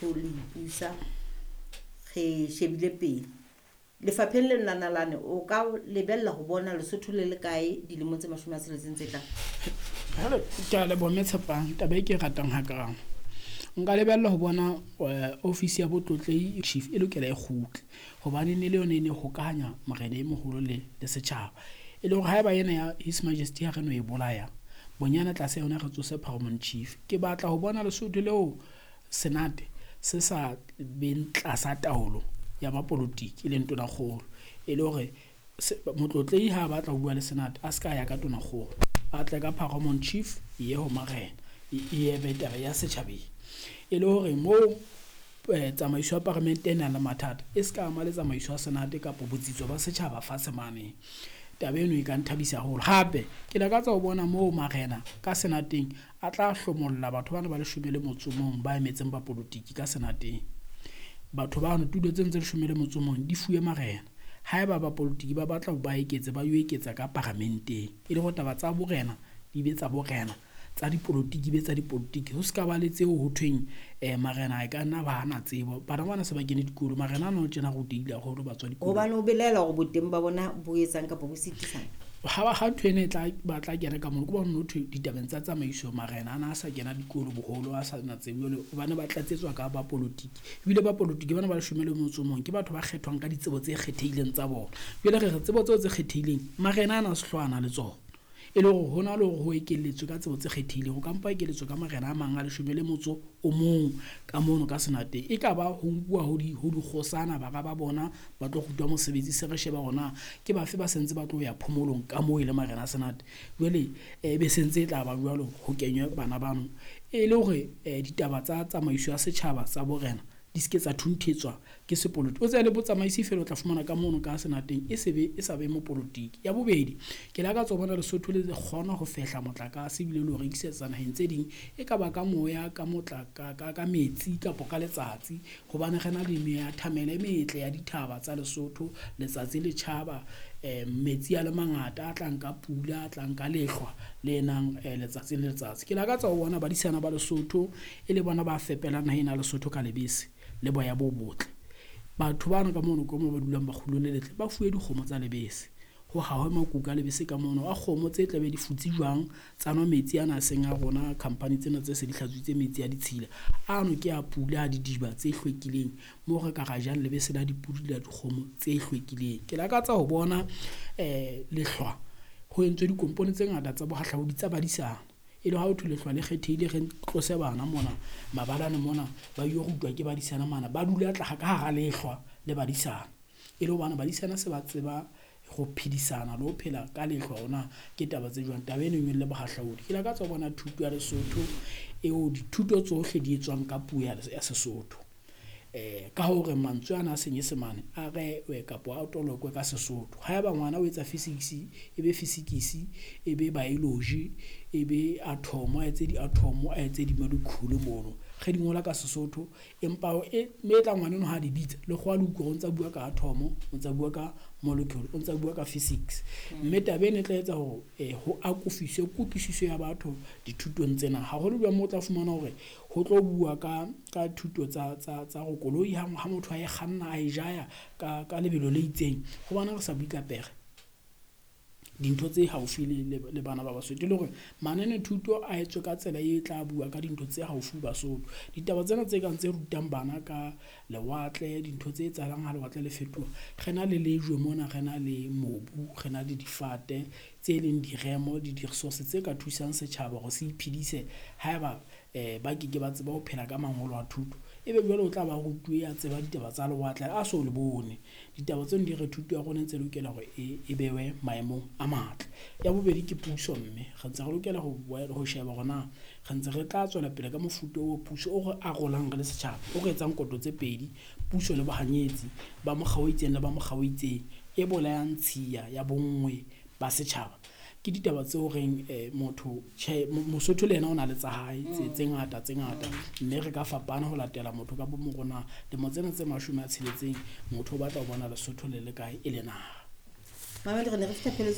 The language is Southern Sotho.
Le ipusa re shebile pele lefapheng leno la nalane, o ka lebella ho bona Lesotho le le kae dilemong tse 60 tse tlang? Jwale ke a leboha Mme Tshepang, taba e ke e ratang hakang. Nka lebella ho bona ofisi ya botlotlehi chief e lokela e kgutle, hobane ne le yona e ne hokahanya morena e moholo le setjhaba. E le hore haeba ena ya His Majesty ha re no e bolaya, bonyane tlase yona re tsose Paramount Chief. Ke batla ho bona Lesotho leo Senate se sa beng tlasa taolo ya bapolotiki e leng tonakgolo, e le hore motlotlehi ha a batla ho bua le Senate a ska ya ka tonakgolo, a tle ka Paramount Chief e ye ho marena, e ye be taba ya setjhabeng. E le hore moo tsamaiso ya paramente e nang le mathata e ska ama le tsamaiso ya Senate kapa botsitso ba setjhaba fatshe mane. Taba eno e ka nthabisa haholo. Hape ke lakatsa ho bona moo marena ka Senateng a tla hlomolla batho bana ba 11 ba emetseng bapolotiki ka Senateng. Batho bano tulo tseno tse 11 di fuwe marena. Haeba bapolotiki ba batla ho ba eketse, ba yo eketsa ka paramenteng. E le hore taba tsa borena di be tsa borena, tsa dipolotiki be tsa dipolotiki. Ho ska ba le tseo ho thweng marena a ka nna ba hana tsebo. Bana bana se ba kene dikolo, marena ana o tjena rutehile haholo ba tswa dikolong. Hobane o belaela hore boteng ba bona bo etsang kapa bo sitisang? Ha ntho ena e tla ba tla kena ka mono, ke bona ho thwe ditabeng tsa tsamaiso marena ana a sa kena dikolo boholo, a sa na tsebo jwale hobane ba tlatsetswa ka bapolotiki. Ebile bapolotiki bana ba 11 ke batho ba kgethwang ka ditsebo tse kgethehileng tsa bona. Jwale re re tsebo tseo tse kgethehileng marena ana a se le tsona. E le hore hona le hore ho ekelletswe ka tsebo tse kgethehileng, ho ka mpa ekelletswe ka marena a mang a 11 ka mono ka Senateng. E ka ba ho nkuwa ho dikgosana bara ba bona ba tlo rutwa mosebetsi, se re sheba hore na ke bafe ba sentse ba tlo ya phomolong ka moo e le marena a Senate. Jwale e be sentse e tla ba jwalo ho kenywe bana bano e le hore ditaba tsa tsamaiso ya setjhaba tsa borena di se ke tsa thunthetswa ke sepolotiki. O tsebe le botsamaisi feela o tla fumana ka mono ka Senateng e se be e sa be mopolotiki. Ya bobedi, ke lakatsa ho bona Lesotho le kgona ho fehla motlakase ebile le ho rekisetsa naheng tse ding, e ka ba ka moya, ka ka metsi kapa ka letsatsi. Hobane re na le meya thamele e metle ya dithaba tsa Lesotho, letsatsi le tjhaba, metsi a le mangata a tlang ka pula, a tlang ka lehlwa le nang letsatsi le letsatsi. Ke lakatsa ho bona badisana ba Lesotho e le bona ba fepelang naha ena ya Lesotho ka lebese le boya bo botle. Batho bana ka mono ka moo ba dulang Makgulong le letle ba fuwe dikgomo tsa lebese, ho hahwe makuka a lebese ka mono a kgomo tse tla be di futse jwang, tsa nwa metsi ana a seng a rona, company tsena tse se di hlatswitse metsi a ditshila ano ke a pula a didiba tse hlwekileng moo re ka ra jang lebese la dipudi le la dikgomo tse hlwekileng. Ke lakatsa ho bona lehlwa ho entswe dikompone tse ngata tsa bohahlaudi tsa badisana, e le ha ho thwe lehlwa le kgethehile, re tlose bana mona mabalane mona ba yo rutwa ke badisana mana, ba dula tla ka hara lehlwa le badisana. E le hobane badisana se ba tseba ho phedisana le ho phela ka lehlwa hona ke taba tse jwang. Taba eno e nyolle bohahlaudi. Ke lakatsa ho bona thuto ya Lesotho eo dithuto tsohle di etswang ka puo ya Sesotho. Ka hore mantswe ana a Senyesemane a rewe kapa a tolokwe ka Sesotho. Haeba ngwana o etsa physics, e be physics, e be biology, e be atom, a etse di-atom, a etse di-molecule mono. Re di ngola ka Sesotho, empa mme e tla ngwana eno ha di bitsa lekgowa le utlwa hore o ntsa bua ka atom, o ntsa bua ka molecule, o ntsa bua ka physics. Mme taba ena e tla etsa hore ho akofiswe kutlwisiso ya batho dithutong tsena. Haholo jwang moo o tla fumana hore ho tlo bua ka thuto tsa hore koloi ha motho a e kganna a e jaya ka lebelo le itseng, hobane re sa bue ka pere, dintho tse haufi le bana ba Basotho. E le hore manane thuto a etswe ka tsela e tla bua ka dintho tse haufi Basotho. Ditaba tsena tse kang tse rutang bana ka lewatle, dintho tse etsahalang ha lewatle le fetoha. Re na le lejwe mona, re na le mobu, re na le difate tse leng diremo le di-resource tse ka thusang setjhaba hore se iphedise haeba ba keke ba tseba ho phela ka mangolo a thuto. Ebe jwale o tla ba rutuwe a tseba ditaba tsa lewatle a so le bone. Ditaba tseno di re thuto ya rona e ntse lokela hore e bewe maemong a matle. Ya bobedi ke puso, mme re ntse re lokela ho sheba hore na re ntse re tla tswela pele ka mofuta o puso o re arolang re le setjhaba, o re etsang koto tse pedi, puso le bohanyetsi ba mokga o itseng le ba mokga o itseng, e bolayang tshiya ya bonngwe ba setjhaba. Ke ditaba tseo reng motho tjhe, Mosotho le yena o na le tsa hae tse ngata tse ngata, mme re ka fapana ho latela motho ka bo morona. Lemo tsena tse 60 motho o batla ho bona Lesotho le le kae e le naha. Mamedi, re ne re fihla pheletsong.